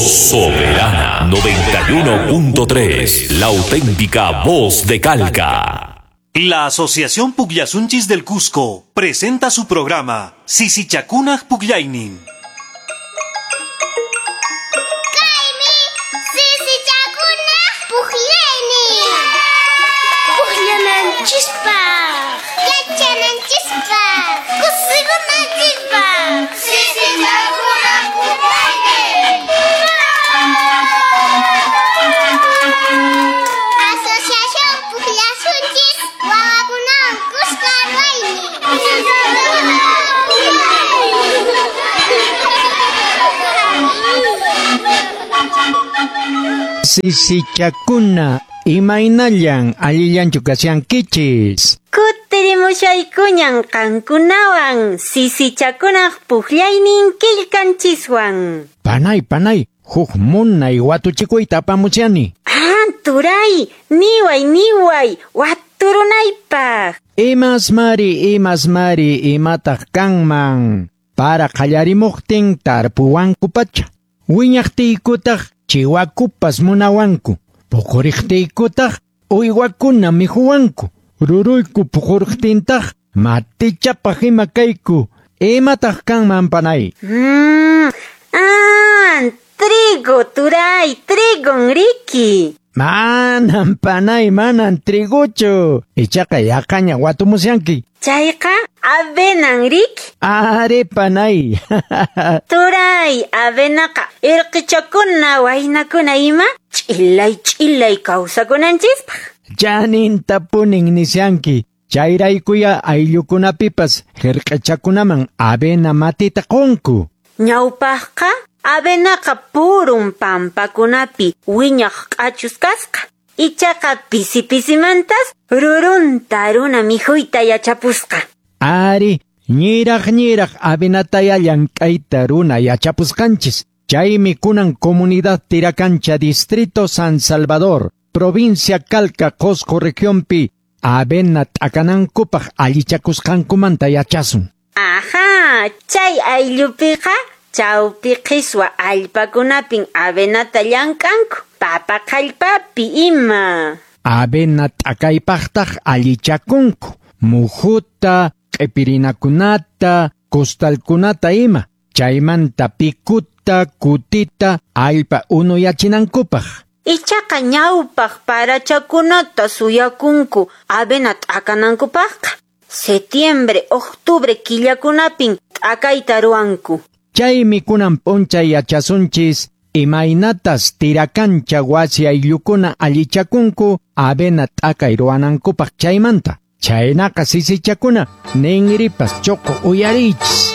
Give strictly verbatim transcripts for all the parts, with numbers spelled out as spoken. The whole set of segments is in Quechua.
Soberana noventa y uno punto tres, la auténtica voz de Calca. La Asociación Pukllasunchis del Cusco presenta su programa Sisichakunaq Pukllaynin. Kaymi Sisichakunaq Pukllaynin. Pukllananchispaq, yachananchispaq, kusikunanchispaq. Sisichakunaq Pukllaynin. Asociación Pukllasunchis wawakunawan kuska ruwaynin. Sisichakuna, imaynallan allillanchu kashankichis. Kutirimushaykuñan qankunawan sisichakunaq pukllaynin killkanchiswan. Panay, panay, huk munay watuchikuyta apamushani. Ah, turay, niway, niway, waturunaypaq. Imas mari, imas mari, imataq kanman. Para qallarimuqtin tarpuwanku pacha. Wiñaqtiykutaq chiwakupas munawanku. Puquriqtiykutaq uywakuna mihuwanku. Ruruyku puquriqtintaq matichapaq ima kayku. Imataq kanman panay? Mm, ah, trigo, turay, trigon riki. Manan panay, manan triguchu. Ichaqa yaqaña watumusyanki. Chayqa avenan riki. Are panay. Turay, avenaqa irqichakuna waynakuna ima ch'illay ch'illay kawsakunanchispaq. Chanintapunin nisyanki. Chayraykuya ayllukunapipas hirq'ichakunaman avena matita qunku. Ñawpaqqa avenaqa purun pampakunapi wiñaq q'achus kasqa. Ichaqa pisi pisimantas rurunta runa mikhuyta yachapusqa. Ari, ñiraq ñiraq avenataya llank'ayta runa yachapusqanchis. Chaymi kunan comunidad Tiracancha, distrito San Salvador, provincia Calca, Cosco regionpi, avena t'akanankupaq allichakusqankumanta yachasun. Ajá, chay ayllupiqa chawpi qhiswa allpakunapin avenata llank'anku, papa qallpapi ima. Avena t'akaypaqtaq allichakunku, muhuta, q'ipirinakunata, costalkunata ima, chaymanta pikuta, kutita, allpa unuyachinankupaq. Ichaqa ñawpaq parachakunata suyakunku avena t'akanankupaqqa. Setiembre, octubre killakunapin t'akayta ruwanku. Chaymi kunan p'unchay yachasunchis imaynatas Tiracancha wasi ayllukuna allichakunku avena t'akay ruwanankupaq chaymanta. Chaynaqa sisichakuna ninripas choqo uyariychis.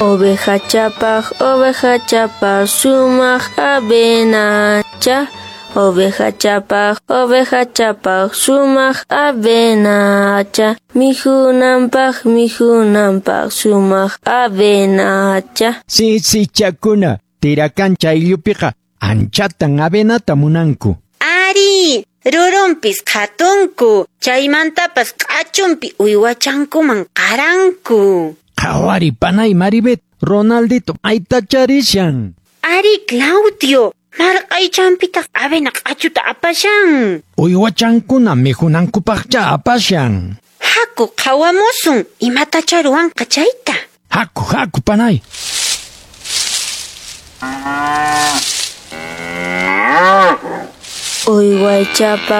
Oveja chapaq, oveja chapaq, sumaq avenacha. Oveja chapaq, oveja chapaq, sumaq avenacha. Mijunanpaq, mijunanpaq, sumaq avenacha. Sisichakuna, Tiracancha ayllupiqa anchatan avenata munanku. Ari, rurunpis qhatunku, chaymantapas q'achunpi uywachankuman qaranku. Qhawari panay Maribet, Ronaldito maytacharishan. Ari, Claudio, marq'aychanpitaq avena q'achuta apashan. Uywachankuna mihunankupaqcha apashan. Haku qhawamusun, imatacha ruwanqa chayta. Haku, haku panay. Uywachapaq.